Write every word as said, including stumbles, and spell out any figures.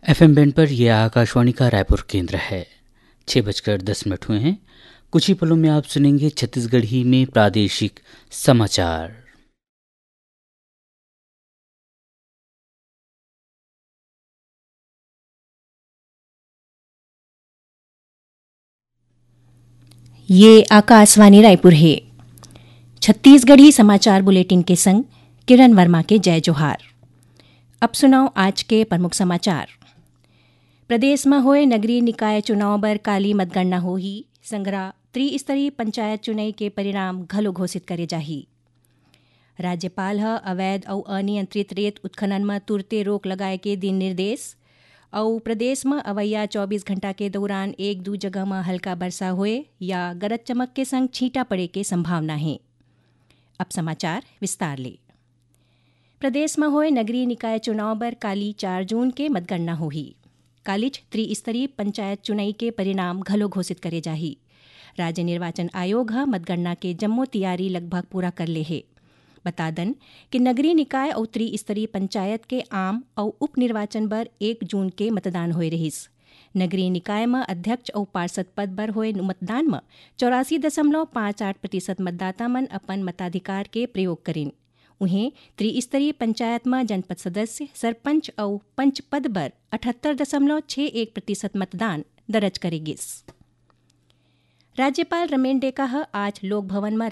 FM band पर यह आकाशवाणी का रायपुर केंद्र है। छह बजकर दस मिनट हुए हैं। कुछ ही पलों में आप सुनेंगे छत्तीसगढ़ी में प्रादेशिक समाचार। ये आकाशवाणी रायपुर है। छत्तीसगढ़ी समाचार बुलेटिन के संग किरण वर्मा के जय जोहार। अब सुनव आज के प्रमुख समाचार। प्रदेश म होए नगरीय निकाय चुनाव बर काली मतगणना होही। संघरा त्रिस्तरीय पंचायत चुनई के परिणाम घलो घोषित करे जाही। राज्यपाल ह अवैध अउ अनियंत्रित रेत उत्खनन म तुरते रोक लगाए के दिन निर्देश। अउ प्रदेश म अवइया चौबीस घंटा के दौरान एक दू जगह म हल्का बरसा होए या गरज चमक के संग छींटा पड़े के संभावना हे। अब समाचार विस्तार ले। प्रदेश म होए नगरीय निकाय चुनाव बर काली चार जून के मतगणना होही। कालीच त्रिस्तरीय पंचायत चुनई के परिणाम घलो घोषित करे जाही। राज्य निर्वाचन आयोग ह मतगणना के जम्मो तियारी लगभग पूरा कर ले हे। बता दन कि नगरीय निकाय अउ त्रिस्तरीय पंचायत के आम अउ उपनिर्वाचन बर एक जून के मतदान होए रहिस। नगरीय निकाय म अध्यक्ष अउ पार्षद पद बर होए मतदान म चौरासी दशमलव पाँच आठ प्रतिशत मतदाता मन अपन मताधिकार के प्रयोग करिन। उहें, त्रिस्तरीय पंचायत म जनपद सदस्य, सरपंच अउ पंच पद बर अठहत्तर दशमलव छह एक प्रतिशत मतदान दर्ज करे गिस। राज्यपाल रमेन डेका ह आज लोक भवन म